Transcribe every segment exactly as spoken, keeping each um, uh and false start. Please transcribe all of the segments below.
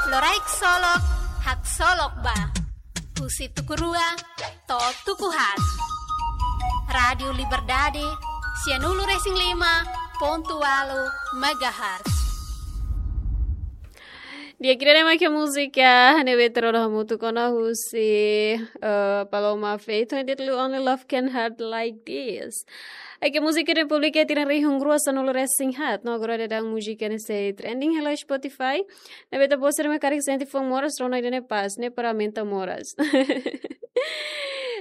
Loraik Solok, haksolok ba. Husi tuku rua to'o tuku haat. Rádiu Liberdade, sianulu-resin-lima pontu ualu megahertz. Di'ak, ida-ne'e mak múzika ne'ebé ita rona hamutuk ona husi, eh, Paloma Faith, ho títulu Only Love Can Hurt Like This. Oke, múzika ne'e publika iha tinan rihun rua sanulu-resin-haat, no agora daudaun múzika ne'e sei trending hela Spotify. Ne'ebé ita-boot sira mak karik sente foun moras, rona ida-ne'e pas, ne'e para aumenta moras.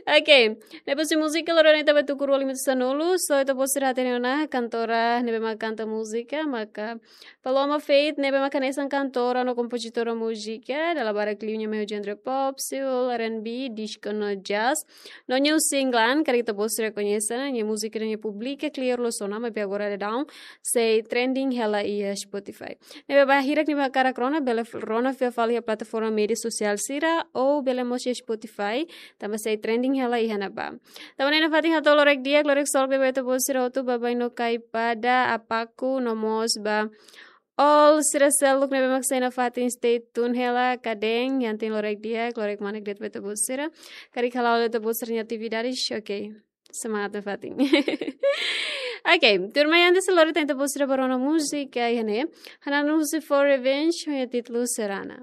Oke, ne'e husi múzika loron ita-boot tuku rua lima sanulu, so ita-boot sira hatene ona kantora ne'ebé mak kanta múzika, maka Paloma Faith, ne'ebé mak hanesan kantora no kompozitora múzika, dala barak liu nia mai ho genre pop, soul, R and B, disco no jazz. No nia husi England, karik ita-boot sira koñese ona, nia múzika ne'e nia publika kleur loos ona, maibé agora daudaun sei trending hela iha Spotify. Ne'ebé ba hirak ne'ebé hakarak rona, bele f-, rona fila fali iha plataforma média sosiál sira, ou bele mós iha Spotify, tanba sei trending hela iha ne'ebá. Tanba ne'e nafatin hato'o loraik di'ak, loraik solok ba ita-boot sira hotu, baibain no kaipada, apaku, no mós ba all sira seluk ne'ebé mak sei nafatin, stay tune hela, kadeer, iha tinan loraik di'ak, loraik manek de'it ba ita-boot sira. Karik hala'o ita-boot sira-nia atividades, oke. Semangat nafatin. Oke, tuirmai antes lori tan ita-boot sira ba rona múzika iha ne'e. Hanan husi For Revenge, ho títulu Serana.